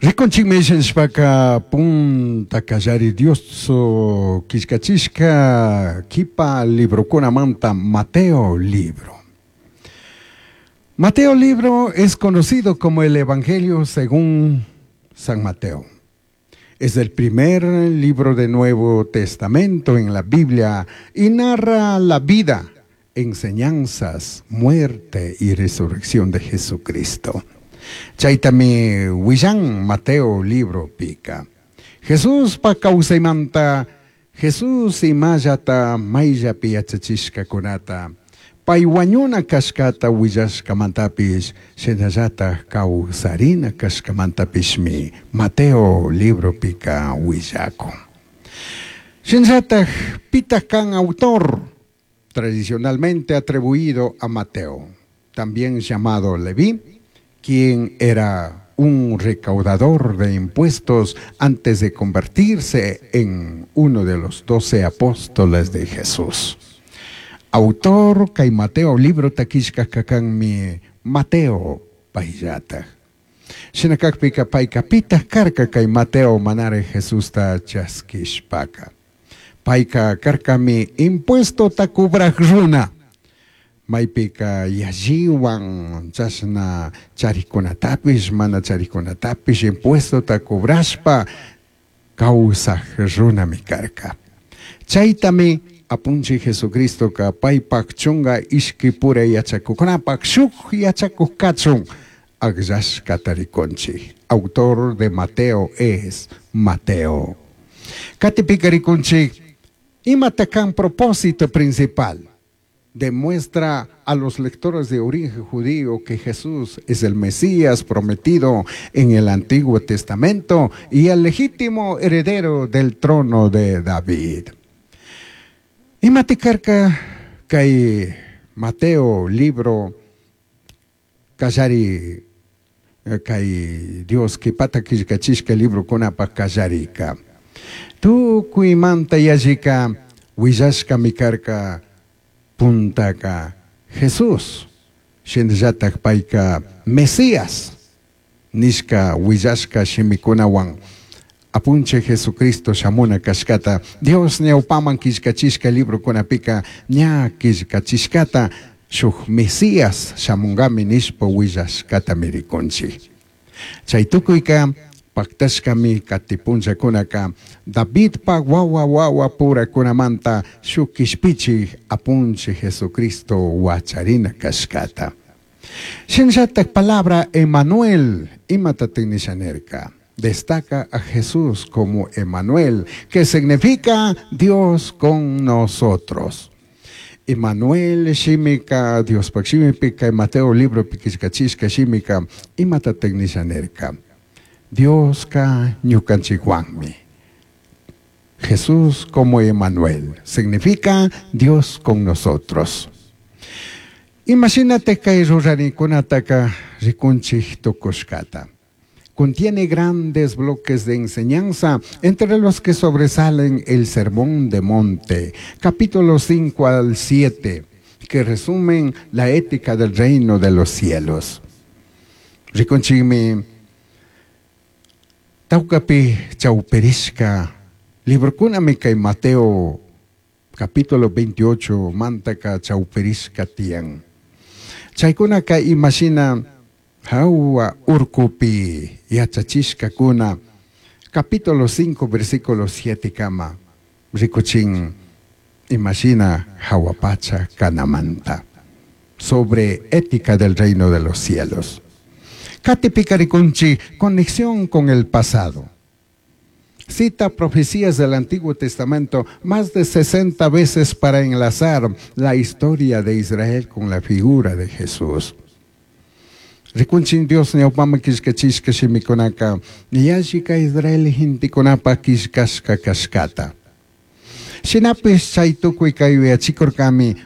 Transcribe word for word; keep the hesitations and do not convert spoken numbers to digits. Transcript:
Rikunchikmi nishpaka punta kallari Dios killkachishka kipa librokunamanta Mateo libro. Mateo libro es conocido como el Evangelio según San Mateo. Es el primer libro del Nuevo Testamento en la Biblia y narra la vida, enseñanzas, muerte y resurrección de Jesucristo. Chaytami willan Mateo libro pika. Jesús pa kawsaymanta, Jesús imallata mayllapi yachachishkakunata, pay wañuna kashkata willashkamantapish, shinallata kawsarina kashkamantapishmi Mateo libro pika willakun. Shinallata pitaq kan autor, tradicionalmente atribuido a Mateo, también llamado Leví, quien era un recaudador de impuestos antes de convertirse en uno de los doce apóstoles de Jesús. Autor kay Mateo libro killkajka kanmi Mateo payllata. Shinakakpika payka pitaq karka kay Mateo manara Jesusta chaskishpaka. Payka karkami impuestota cobraj runa. Maypika yalliwan chashna charikunatapish mana charikunatapish impuestota cobrashpa kawsaj runami karka. Chaytami apunchik Jesucristoka paypak chunka ishkipura yachakuqkunapak shuk yachakuq kachun akllashkata rikunchik. Autor de Mateo es Mateo. Katipika rikunchik imata kan propósito principal. Demuestra a los lectores de origen judío que Jesús es el Mesías prometido en el Antiguo Testamento y el legítimo heredero del trono de David. Imata karka kay Mateo libro kallari kay Dios kipata killkachishka librokunapaj kallarika. Tukuymanta yallika willashkami karka puntaka Jesús shinallatak payka Mesías nishka willashka shimikunawan apunchik Jesucristo shamuna kashkata Dios ñawpaman killkachishka librokunapika ña killkachishkata shuk Mesías shamunkami nishpa willashkatami rikunchik. Chay tukuyka paktashkami kati punllakunaka Davidpa wawa wawa purakunamanta shuk kishpichik apunchik Jesucristo wacharina kashkata. Shinallatak palabra Emanuel imatatik nisha nirka. Destaca a Jesús como Emanuel, que significa Dios con nosotros. Emanuel shimika Diospak shimipika Mateo libro killkachishka shimika imatatik nisha nirka. Dioska ñukanchikwanmi. Jesús como Emanuel significa Dios con nosotros. Imagínate kay rurarikunataka rikunchik tukushkata. Contiene grandes bloques de enseñanza, entre los que sobresalen el Sermón de Monte, capítulos cinco al siete, que resumen la ética del reino de los cielos. Rikunchikmi tawkapi chawpirishka librokunami kay Mateo capítulo veintiocho mantaka chawpirishka tiyan. Chaykunaka imashina hawa urkupi yachachishkakuna capítulo cinco versículo siete kama rikuchin imashina hawapacha kanamanta sobre ética del reino de los cielos. Katipika rikunchik, conexión con el pasado. Cita profecías del Antiguo Testamento más de sesenta veces para enlazar la historia de Israel con la figura de Jesús. Rikunchin Dios ñawpaman killkachishka shimikunaka, yallika Israel gentekunapa killkashka kashkata. Shinapish chay tukuy kay yuyachikurkami.